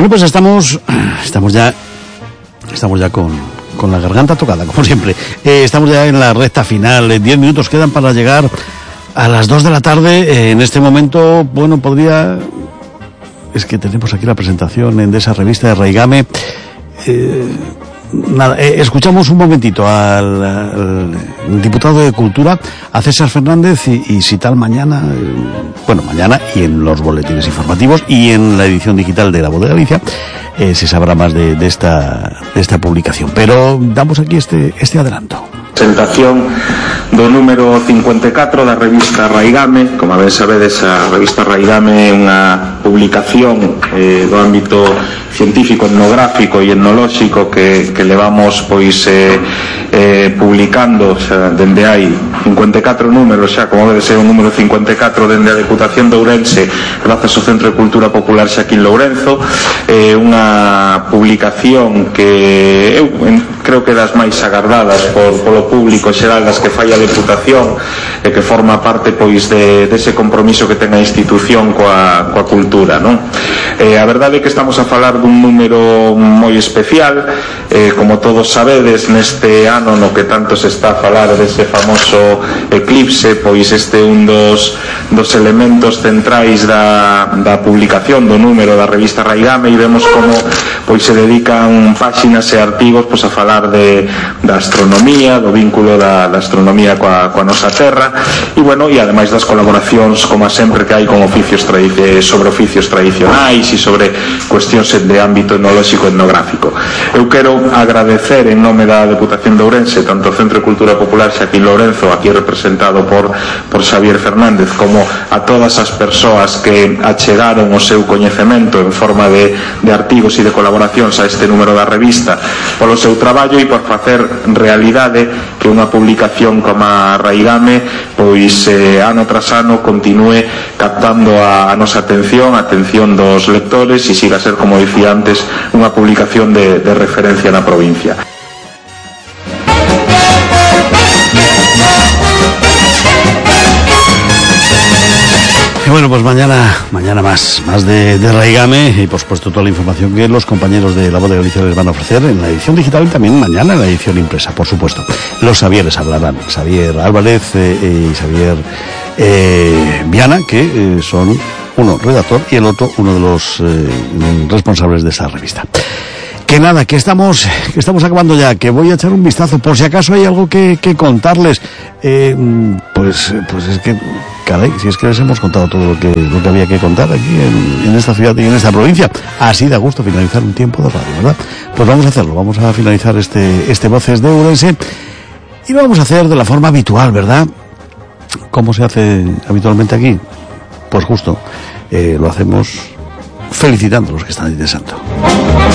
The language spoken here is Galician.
Bueno, pues estamos ya con la garganta tocada, como siempre. Estamos ya en la recta final. 10 minutos quedan para llegar a las 2 de la tarde. En este momento, bueno, es que tenemos aquí la presentación de esa revista de Raigame. Escuchamos un momentito al diputado de Cultura, a César Fernández, y si tal mañana y en los boletines informativos y en la edición digital de La Voz de Galicia se sabrá más de esta publicación. Pero damos aquí este adelanto. Presentación do número 54 da revista Raigame. Como ben sabedes, a revista Raigame é unha publicación do ámbito científico, etnográfico e etnolóxico que levamos publicando dende hai 54 números xa, como debe ser o número 54 dende a Deputación de Ourense, grazas ao Centro de Cultura Popular Xaquín Lourenzo. Unha publicación que eu creo que das máis agardadas polo público xeral das que fai a Deputación, e que forma parte dese compromiso que ten a institución coa cultura, non? A verdade é que estamos a falar dun número moi especial, como todos sabedes, neste ano no que tanto se está a falar dese famoso eclipse, pois este é un dos elementos centrais da publicación do número da revista Raigame, e vemos como se dedican páxinas e artigos a falar da astronomía, do vínculo da astronomía coa nosa terra, e ademais das colaboracións, como sempre, que hai con sobre oficios tradicionais e sobre cuestións de ámbito etnolóxico e etnográfico. Eu quero agradecer en nome da Deputación de Ourense tanto o Centro de Cultura Popular Xaquín Lourenzo, aquí representado por Xavier Fernández, como a todas as persoas que achegaron o seu coñecemento en forma de artigos e de colaboracións a este número da revista, polo seu traballo e por facer realidade que unha publicación como a Raigame ano tras ano continúe captando a nosa atención, a atención dos lectores, e siga a ser, como dicía antes, unha publicación de referencia na provincia. Bueno, pues mañana más de Raigame, y por supuesto toda la información que los compañeros de La Voz de Galicia les van a ofrecer en la edición digital y también mañana en la edición impresa, por supuesto. Los Xavieres hablarán, Xavier Álvarez y Xavier Viana, que son uno redactor y el otro uno de los responsables de esa revista. Que nada, que estamos acabando ya, que voy a echar un vistazo por si acaso hay algo que contarles. Pues es que, caray, si es que les hemos contado todo lo que había que contar aquí en esta ciudad y en esta provincia. Así da gusto finalizar un tiempo de radio, ¿verdad? Pues vamos a hacerlo, vamos a finalizar este Voces de Ourense, y lo vamos a hacer de la forma habitual, ¿verdad? ¿Cómo se hace habitualmente aquí? Pues justo, lo hacemos felicitando a los que están ahí de santo.